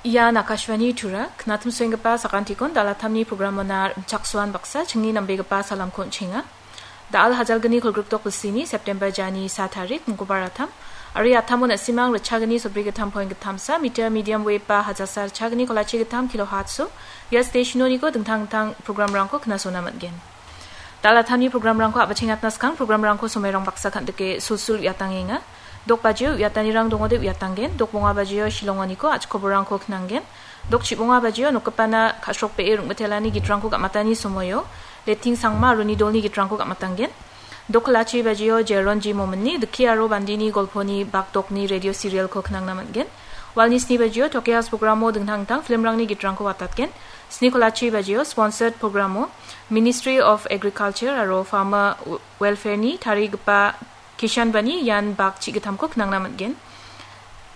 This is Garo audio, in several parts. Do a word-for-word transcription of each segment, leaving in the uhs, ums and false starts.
Ian Akashvani Tura, knatimsoenggipa sakantikon dalatamni programona rimchaksoan baksa chingni nambegipa salamko on·chenga. Da·al hajalgni kolgrikdok bilsini September jani sa tarik, mingkobar atam. Aro ia atamo na·simang ritchagni sobrigittam poin gittamsa, meter medium wave ba hajasa ritchagni kolachi gittam kilohertz-o, ia stationoniko dingtang dingtang programrangko knasona man·gen. Dalatamni programrangko a·bachengatna skang programrangko somairang baksa kan·dike sulsul uiatangenga. Dok bajio uiatanirang dongode uiatanggen, dok bonga bajio Shillongoniko a·chikoborangko knanggen. Dok chibonga bajio nokgipana ka·srokbee rong·mitelani gitrangko gam·atani somoio, Leting Sangma aro uni dolni gitrangko gam·atanggen. Dok kolachi bajio Jeron G Mominni Dikki aro Bandini golponi bakdokni radio serialko knangna man·gen. Walni sni bajio Tokyo House programo dingtang dingtang filmrangni gitrangko watatgen. Sni kolachi bajio sponsored programo Ministry of Agriculture aro Farmer Welfareni tarigipa Kishan Bani ian bak chi·gittamko knangna man·gen.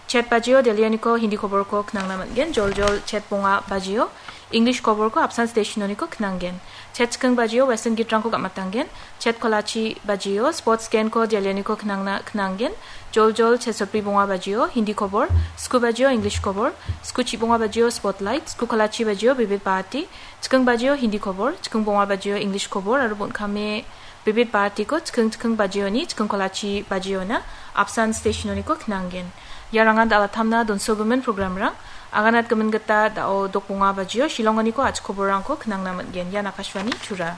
Chet bajio Delhioniko Hindi koborko knangna man·gen. Joljol chet bonga bajio English koborko apsan stationoniko knanggen. Chet chiking bajio Western gitrangko gam·atanggen. Chet kolachi bajio sports genko Delhioniko knangna knanggen. Joljol chet sotbri bonga bajio Hindi kobor, sku bajio English kobor, sku chibonga bajio Spotlight, sku kolachi bajio Bibit Bharati, chiking bajio Hindi kobor, chiking bonga bajio English kobor aro bon·kame Bibit Bharatiko chiking chiking bajioni, chiking kolachi bajiona apsan stationoniko knanggen. Iarangan dalatamna donsogimin programrang, aganatgimin gita da·o dok bonga bajio Shillongoniko a·chikoborangko knangna man·gen. Ian Akashvani Tura.